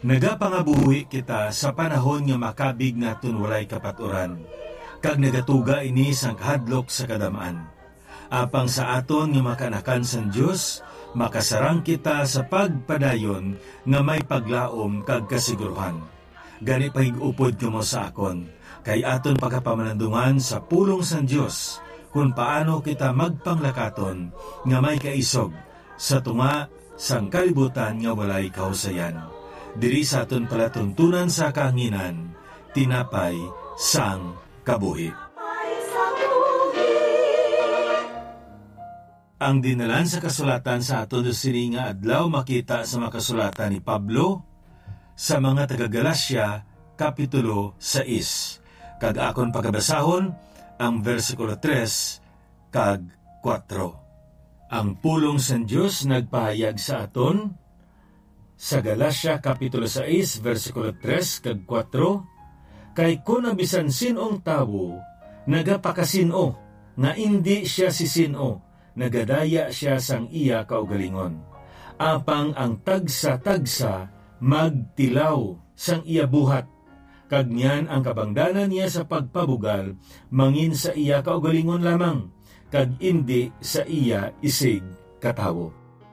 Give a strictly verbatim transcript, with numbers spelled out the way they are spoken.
Nagapangabuhi kita sa panahon nga makabig naton walay kapaturan, kag nagatuga ini sang kahadlok sa kadam-an. Apang sa aton nga mga kaanakan sang Dios, makasarang kita sa pagpadayon nga may paglaom kag kasiguruhan. Gani, pahig-upod kamo sa akon, kay aton pagapamalandungan sa pulong sang Dios kon paano kita magpanglakaton nga may kaisog sa tunga sang kalibutan nga walay kahusayan. Diri sa aton palatuntunan sa kahanginan, tinapay sang kabuhi. Ang dinalan sa kasulatan sa aton sini nga adlaw makita sa mga kasulatan ni Pablo sa mga taga-Galacia, Kapitulo sais, kag akon pagabasahon ang bersikulo tres kag kuwatro. Ang pulong sang Dios nagpahayag sa aton sa Galacia Kapitulo sais, bersikulo tres kag kuwatro, "Kay kon ang bisan sin-ong tawo nagapakasin-o nga indi sia si sin-o, nagadaya sia sang iya kaugalingon. Apang ang tagsa-tagsa magtilaw sang iya buhat, kag niyan ang kabangdanan niya sa pagpabugal mangin sa iya kaugalingon lamang, kag indi sa iya isig ka tawo."